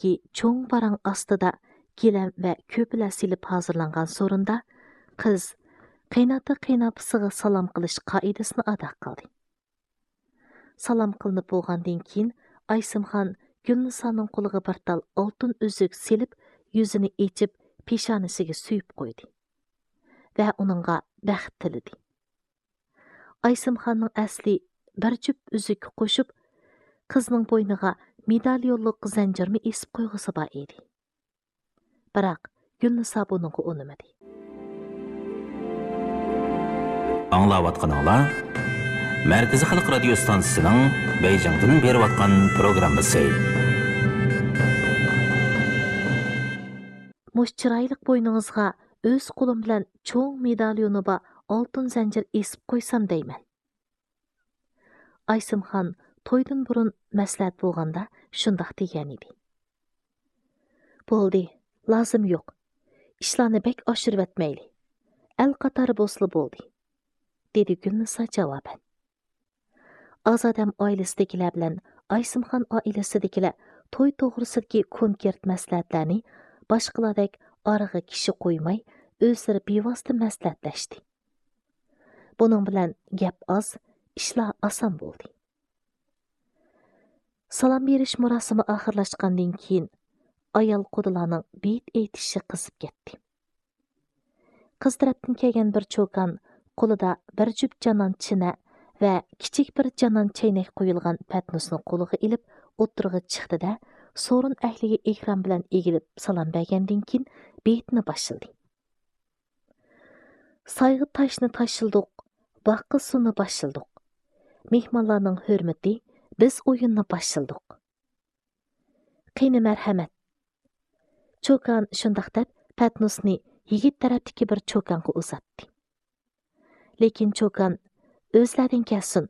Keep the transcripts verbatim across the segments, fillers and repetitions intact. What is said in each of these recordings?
ئىچىدىكى چوڭ باراڭ ئاستىدا گىلەم ۋە كۆپىلەر سېلىپ ھازىرلانغان سورۇندا قىز قېيناتا-قېيىنئاپىسىغا سالام قىلىش قائىدىسىنى ئادا قىلدى. سالام قىلىنىپ بولغاندىن كېيىن، ئايسىمخان گۈلنىسانىڭ قولىغا بىر تال ئالتۇن ئۈزۈك سېلىپ، يۈزىنى ئېچىپ، پېشانىسىگە سۆيۈپ قويدى ۋە ئۇنىڭغا بەخت تىلىدى. ئايسىمخاننىڭ ئەسلى بىر جۈپ ئۈزۈككە قوشۇپ، قىزنىڭ بوينىغا مېداليونلۇق زەنجىرمۇ ئېسىپ قويغۇسى بار ئىدى. بىراق، گۈلنىسا بۇنىڭغا ئۇنىمىدى. ئاڭلاۋاتقىنىڭلار مەركىزىي خەلق رادىيو ستانسىسىنىڭ بېيجىڭدىن بېرىۋاتقان پروگراممىسى. مۇشۇ چىرايلىق بوينىڭىزغا ئۆز قولۇم بىلەن چوڭ مېداليونى بار ئالتۇن زەنجىر ئېسىپ قويسام دەيمەن. ئايسىمخان تويدىن بۇرۇن مەسلىھەت بولغاندا شۇنداق دېگەنىدى. بولدى، لازىم يوق. ئىشلارنى بەك ئاشۇرۇۋەتمەيلى. ئەل قاتارى بولسىلا بولدى، دېدى گۈلنىسا جاۋابەن. ئازادەم ئائىلىسىدىكىلەر بىلەن ئايسىمخان ئائىلىسىدىكىلەر توي توغرىسىدىكى كونكرېت مەسلىھەتلەرنى باشقىلاردەك ئارىغا كىشى قويماي، ئۆزلىرى بىۋاسىتە مەسلىھەتلەشتى. بۇنىڭ بىلەن گەپ ئاز، ئىشلار ئاسان بولدى. سالام بېرىش مۇراسىمى ئاخىرلاشقاندىن كېيىن، ئايال قۇدىلارنىڭ بېيىت ئېيتىشى قىزىپ كەتتى. قىز تەرەپتىن كەلگەن بىر چوكان قولىدا بىر جۈپ جانان چىنە ۋە كىچىك بىر جانان چەينەك قويۇلغان پەتنۇسنى قولىغا ئېلىپ، ئوتتۇرىغا چىقتى-دە، سورۇن ئەھلىگە ئېھتىرام بىلەن ئېگىلىپ سالام بەرگەندىن كېيىن، بېيىتنى باشلىدى. سايغا تاشنى تاشلىدۇق، باغقا سۇنى باشلىدۇق. مېھمانلارنىڭ ھۆرمىتى، بىز ئويۇننى باشلىدۇق. قېنى مەرھەمەت. چوكان شۇنداق دەپ، پەتنۇسنى يىگىت تەرەپتىكى بىر چوكانغا ئۇزاتتى. لېكىن چوكان، ئۆزلەردىن كەلسۇن،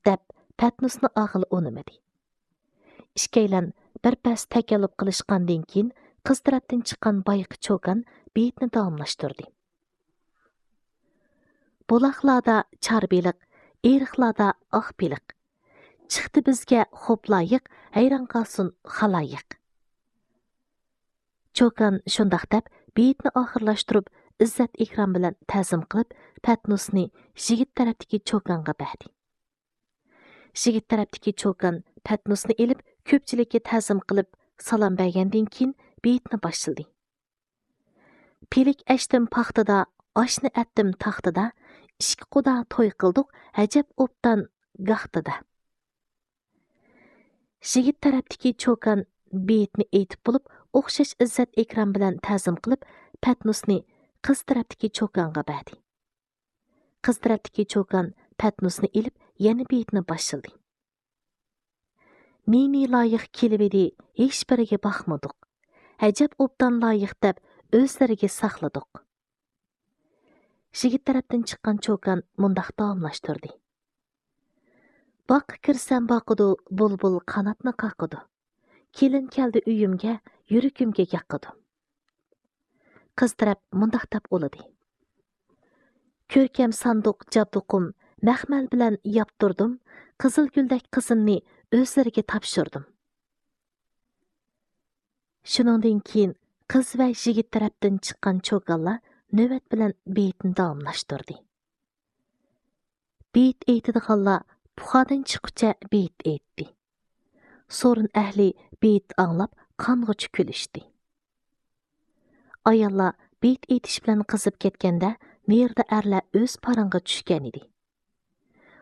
دەپ، پەتنۇسنى ئاغىلى ئۇنىمىدى. ئىككىيلەن بىر پەس تەكەللۇپ قىلىشقاندىن كېيىن، قىز تەرەپتىن چىققان بايىقى چوكان بېيىتنى داۋاملاشتۇردى. بۇلاقلاردا چار بېلىق، ئېرىقلاردا ئاق بېلىق. چىقتى بىزگە خوپ لايىق، ھەيران قالسۇن خالايىق. چوكان شۇنداق دەپ، بېيىتنى ئاخىرلاشتۇرۇپ، ئىززەت-ئىكرام بىلەن تەزىم قىلىپ، پەتنۇسنى يىگىت تەرەپتىكى چوكانغا بەردى. يىگىت تەرەپتىكى چوكان پەتنۇسنى ئېلىپ، كۆپچىلىككە تەزىم قىلىپ، سالام بەرگەندىن كېيىن، بېيىتنى باشلىدى. پىلىك ئەشتىم پاختىدا، ئاشنى ئەتتىم تاختىدا، ئىككى قۇدا توي قىلدۇق، ئەجەب ئوبدان گاھتىدا. يىگىت تەرەپتىكى چوكان بېيىتنى ئېيتىپ بولۇپ، ئوخشاش ئىززەت-ئىكرام بىلەن تەزىم قىلىپ، پەتنۇسنى قىز تەرەپتىكى چوكانغا بەردى. قىز تەرەپتىكى چوكان پەتنۇسنى ئېلىپ، يەنە بېيىتنى باشلىدى. نى-نى لايىق كېلىۋىدى، ھېچبىرىگە باقمىدۇق. ئەجەب ئوبدان لايىق دەپ، ئۆزلىرىگە ساقلىدۇق. يىگىت تەرەپتىن چىققان چوكان مۇنداق داۋاملاشتۇردى. باغقا كىرسەم باقىدۇ، بۇلبۇل قاناتنى قاقىدۇ. كېلىن كەلدى ئۆيۈمگە، يۈرىكىمگە ياقىدۇ. قىز تەرەپ مۇنداق دەپ ئۇلىدى. كۆركەم ساندۇق جابدۇقۇم، مەخمەل بىلەن ياپتۇردۇم، قىزىل گۈلدەك قىزىمنى ئۆزلىرىگە تاپشۇردۇم. شۇنىڭدىن كېيىن قىز ۋە يىگىت تەرەپتىن چىققان چوكانلار نۆۋەت بىلەن بېيىتنى داۋاملاشتۇردى. بېيىت ئېيتىدىغانلار پۇخادىن چىققۇچە بېيىت ئېيتتى. سورۇن ئەھلى بېيىت ئاڭلاپ قانغۇچە كۈلۈشتى. ئاياللار بېيىت ئېيتىش بىلەن قىزىپ كەتكەندە، نېرىدا ئەرلەر ئۆز پاراڭغا چۈشكەنىدى.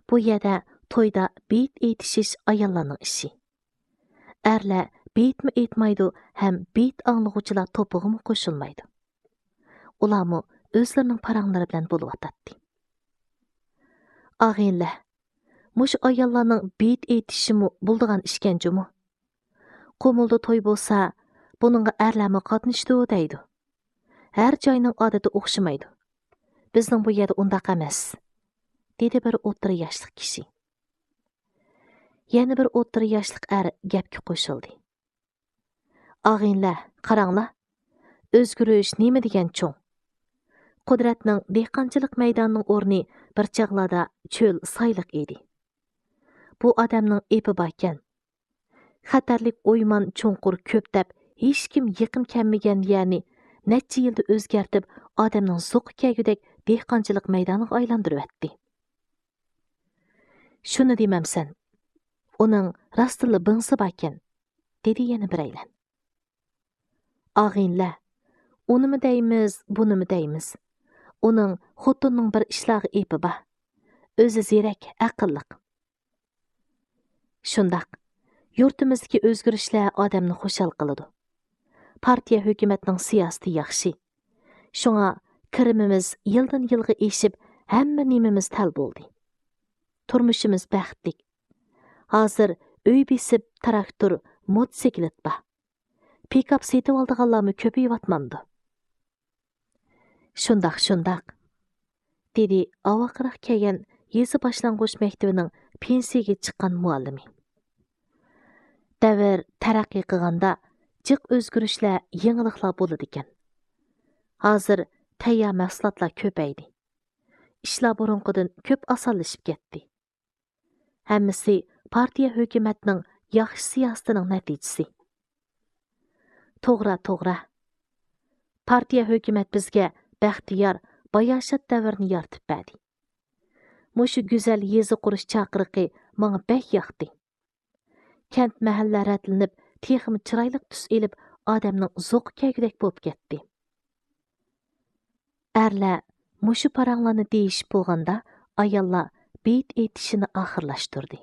بۇ يەردە تويدا بېيىت ئېيتىشىش ئاياللارنىڭ ئىشى. ئەرلەر بېيىتمۇ ئېيتمايدۇ ھەم بېيىت ئاڭلىغۇچىلار توپىغىمۇ قوشۇلمايدۇ. ئۇلارمۇ ئۆزلىرىنىڭ پاراڭلىرى بىلەن بولۇۋاتاتتى. ئاغىنىلەر، مۇشۇ ئاياللارنىڭ بېيىت ئېيتىشىمۇ بولىدىغان ئىشكەن جۇمۇ. قۇمۇلدا توي بولسا، بۇنىڭغا ئەرلەرمۇ قاتنىشىدۇ دەيدۇ. ھەر جاينىڭ ئادىتى ئوخشىمايدۇ. بىزنىڭ بۇ يەردە ئۇنداق ئەمەس، دېدى بىر ئوتتۇرا ياشلىق كىشى. يەنە بىر ئوتتۇرا ياشلىق ئەر گەپكە قوشۇلدى. ئاغىنىلەر، قاراڭلار، ئۆزگىرىش نېمە دېگەن چوڭ! قۇدرەتنىڭ دېھقانچىلىق مەيدانىنىڭ ئورنى بىر چاغلاردا چۆل سايلىق ئىدى. بۇ ئادەمنىڭ ئېپى باركەن. خەتەرلىك ئويمان چوڭقۇر كۆپ دەپ ھېچكىم يېقىن كەلمىگەن يەرنى نەچچە يىلدا ئۆزگەرتىپ، ئادەمنىڭ زوقى كەلگۈدەك دېھقانچىلىق مەيدانىغا ئايلاندۇرۇۋەتتى. «شۇنى دېمەمسەن، ئۇنىڭ راستتىنلا بىڭسى باركەن»، دېدى يەنە بىرەيلەن. «ئاغىنىلەر، ئۇنىمۇ دەيمىز، بۇنىمۇ دەيمىز. ئۇنىڭ خوتۇنىنىڭ بىر ئىشلارغا ئېپى بار. ئۆزى زېرەك، ئەقىللىق.» شۇنداق، يۇرتىمىزدىكى ئۆزگىرىشلەر ئادەمنى خۇشال قىلىدۇ. پارتىيە ھۆكۈمەتنىڭ سىياسىتى ياخشى. شۇڭا كىرىمىمىز يىلدىن يىلغا ئېشىپ، ھەممە نېمىمىز تەل بولدى. تۇرمۇشىمىز بەختلىك. ھازىر ئۆي بېسىپ، تىراكتور، موتوسىكلىت بار. پىكاپ سېتىۋالىدىغانلارمۇ كۆپىيىۋاتمامدۇ؟ شۇنداق، شۇنداق، دېدى ئاۋاقراق كەلگەن يېزا باشلانغۇچ مەكتىۋىنىڭ پېنسىيىگە چىققان مۇئەللىمى. دەۋر تەرەققىي قىلغاندا، جىق ئۆزگىرىشلەر، يېڭىلىقلار بولىدىكەن. ھازىر تەييار مەھسۇلاتلار كۆپەيدى. ئىشلار بۇرۇنقىدىن كۆپ ئاسانلىشىپ كەتتى. ھەممىسى پارتىيە ھۆكۈمەتنىڭ ياخشى سىياسىتىنىڭ نەتىجىسى. توغرا، توغرا. پارتىيە ھۆكۈمەت بىزگە بەختىيار، باياشات دەۋرنى يارىتىپ بەردى. مۇشۇ گۈزەل يېزا قۇرۇش چاقىرىقى ماڭا بەك ياقتى. كەنت، مەھەللە رەتلىنىپ، تېخىمۇ چىرايلىق تۈس ئېلىپ، ئادەمنىڭ زوقى كەلگۈدەك بولۇپ كەتتى. ئەرلەر مۇشۇ پاراڭلارنى دېيىشىپ بولغاندا، ئاياللار بېيىت ئېيتىشىنى ئاخىرلاشتۇردى.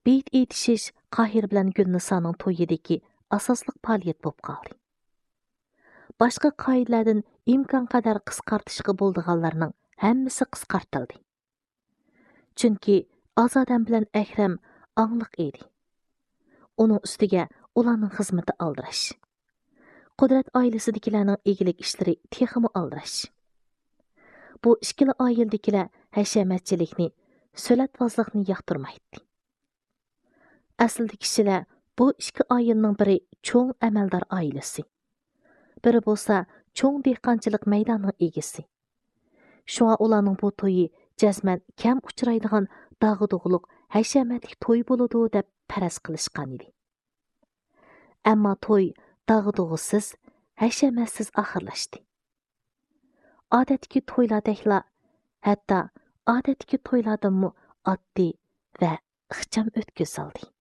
بېيىت ئېيتىشىش قاھىر بىلەن گۈلنىسانىڭ تويىدىكى ئاساسلىق پائالىيەت بولۇپ قالدى. باشقا قائىدىلەردىن ئىمكانقەدەر قىسقارتىشقا بولىدىغانلارنىڭ ھەممىسى قىسقارتىلدى. چۈنكى ئاز ئادەم بىلەن ئەكرەم ئاڭلىق ئىدى. ئۇنىڭ ئۈستىگە ئۇلارنىڭ خىزمىتى ئالدىراش. قۇدرەت ئائىلىسىدىكىلەرنىڭ ئىگىلىك ئىشلىرى تېخىمۇ ئالدىراش. بۇ ئىككىلا ئائىلىدىكىلەر ھەشەمەتچىلىكنى، سۆلەتۋازلىقنى ياقتۇرمايتتى. ئەسلىدە كىشىلەر بۇ ئىككى ئائىلىنىڭ بىرى چوڭ ئەمەلدار ئائىلىسى، بىرى بولسا چوڭ دېھقانچىلىق مەيدانىنىڭ ئىگىسى. شۇڭا ئۇلارنىڭ بۇ تويى جەزمەن كەم ئۇچرايدىغان داغدۇغىلىق، ھەشەمەتلىك توي بولىدۇ دەپ پەرەز قىلىشقان ئىدى. ئەمما توي داغدۇغىسىز، ھەشەمەتسىز ئاخىرلاشتى. ئادەتتىكى تويلاردەكلا، ھەتتا ئادەتتىكى تويلاردىنمۇ ئاددىي ۋە ئىخچام ئۆتكۈزۈلدى.